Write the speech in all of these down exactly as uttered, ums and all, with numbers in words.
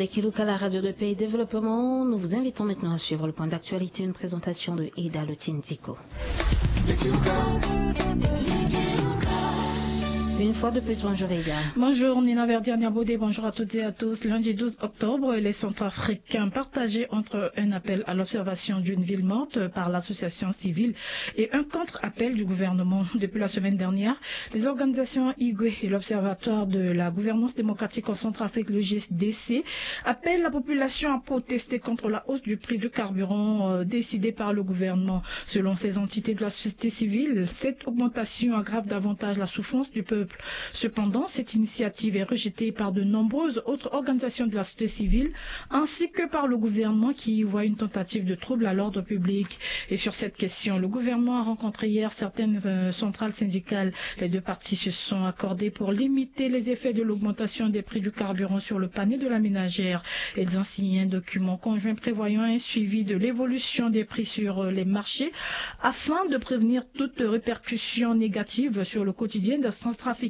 Dekiluka, la radio de paix et développement, nous vous invitons maintenant à suivre le point d'actualité, une présentation de Eda Lotindiko. Une fois de plus, bonjour Eda. Bonjour Nina Verdier Niabodé, bonjour à toutes et à tous. Lundi douze octobre, les Centrafricains partagés entre un appel à l'observation d'une ville morte par l'association civile et un contre-appel du gouvernement. Depuis la semaine dernière, les organisations Igwe et l'Observatoire de la gouvernance démocratique en Centrafrique, le G S D C, appellent la population à protester contre la hausse du prix du carburant, euh, décidée par le gouvernement. Selon ces entités de la société civile, cette augmentation aggrave davantage la souffrance du peuple. Cependant, cette initiative est rejetée par de nombreuses autres organisations de la société civile, ainsi que par le gouvernement qui y voit une tentative de trouble à l'ordre public. Et sur cette question, le gouvernement a rencontré hier certaines, euh, centrales syndicales. Les deux parties se sont accordées pour limiter les effets de l'augmentation des prix du carburant sur le panier de la ménagère. Elles ont signé un document conjoint prévoyant un suivi de l'évolution des prix sur, euh, les marchés afin de prévenir toute répercussion négative sur le quotidien des Centrafricains.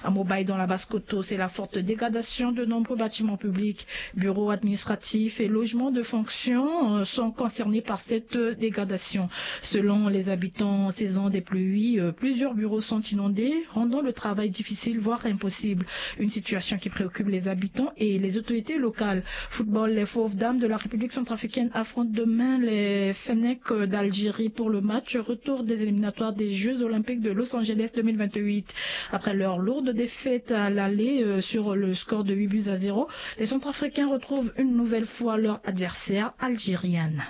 À Mobay, dans la Basse-Kotto, c'est la forte dégradation de nombreux bâtiments publics. Bureaux administratifs et logements de fonction, euh, sont concernés par cette, euh, dégradation. Selon les habitants, en saison des pluies, euh, plusieurs bureaux sont inondés, rendant le travail difficile, voire impossible. Une situation qui préoccupe les habitants et les autorités locales. Football, les Fauves Dames de la République centrafricaine affrontent demain les Fennecs d'Algérie pour le match retour des éliminatoires des Jeux Olympiques de Los Angeles deux mille vingt-huit. Après leur lourde défaite à l'aller, euh, sur le score de huit buts à zéro, les Centrafricains retrouvent une nouvelle fois leur adversaire algérienne.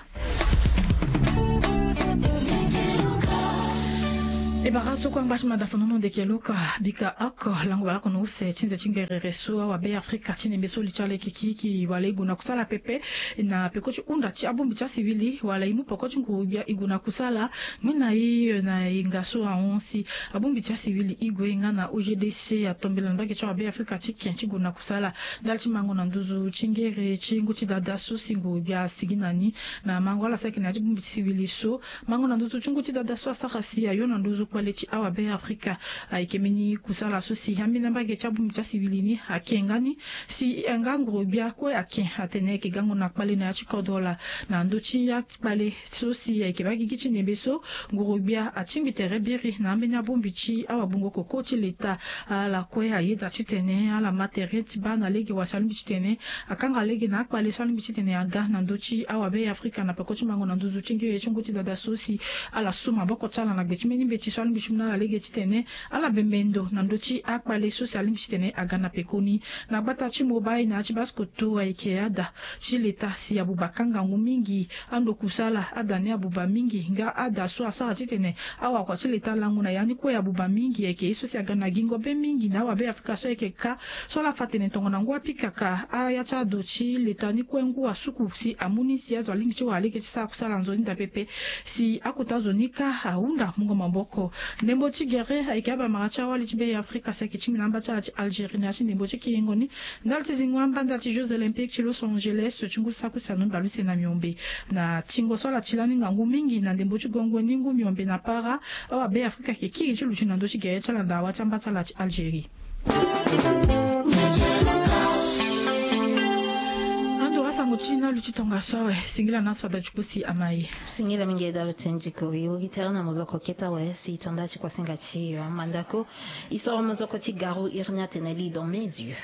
E bara so kue angba ti mada fanono ndeke luka bika oko lango bale oko na use ti nze ti ngerere so awabe Afrika ti nembe so li ti ala yeke kiki wala e gue na kusala pepe na peko ti hunda ti abongbi ti asiwili wala e mu peko ti nguru gbia e gue na kusala. Ngbene na e na e nga so ahon si abongbi ti asiwili e gue nga na O G D C atombela na mbage ti awabe Afrika ti ken ti gue na kusala ndali ti mango na nduzu ti ngere ti ngu ti dada so si nguru gbia asigi na ni na mango ala so ayeke na ya ti bongbi ti siwili so. Mango na nduzu ti ngu ti dada so asara si ayo na nduzu kpale ti awabe Afrika. Ayeke mbeni kusala so si ambeni ambage ti abongbi ti asiwili ni ake nga ni si nga nguru gbia kue ake atene ayeke gango na kpale na ya ti kodro laa na ndö ti akpale so si ayeke baa gigi ti nembe so nguru gbia atingbi tere biri na ambeni abongbi ti awabungo koko ti leta. Ala kue ayeda titene ala ma tere ti baa na lege wala si alingbi titene akanga lege na akpale so alingbi titene aga na ndö ti awabe Afrika na peko ti mango na nduzu ti ngiri ti ngu ti dada so si ala su maboko ti ala na gbe ti mbeni mbeti so alingbi ti mu na ala lege titene ala bembe ndo na ndö ti akpale so si alingbi titene aga na pekoni. Na gbata ti Mobay na ya ti Basse-Kotto ayeke ada ti leta si abuba kanga ngu mingi. Ando kusala ada ni abuba mingi nga ada so asara titene awakua ti leta alango na ya ni kue abuba mingi ayeke ye so si aga na gingo be mingi na awabe Afrika so ayeke ka so ala fa tene tongana ngu apikaka aya ti ado ti leta ni kue ngu asuku si amu ni si azo alingbi ti wara lege ti sara kusala nzoni daa pepe si akota zo ni kâ ahunda mungo maboko. Ndembo ti gere ayeke abamara ti awali ti be Afrika si ayeke tingbi na amba ti ala ti Algérie na ya ti ndembo ti kiringo ni ndali ti zingo amba ndali ti Jeux Olympiques ti Los Angeles ti ngu ti saki use na ndombe bale use na miombe. Na tingo so ala ti lani ngangu mingi na ndembo ti gongo ni ngu miombe na para awabe Afrika ayeke kiri ti luti na ndö ti gere ti ala na dawa ti amba ti ala ti Algérie. Ando asango ti na lu ti tongaso awe singila na so ada ti kusi ama e. Singila mingi e dalo ti ndiko e wori tere na mozoko keta awe si tanda ti kuasinga ti yo amandako. E soro mozoko ti garo iri ni atene li dans mes yeux.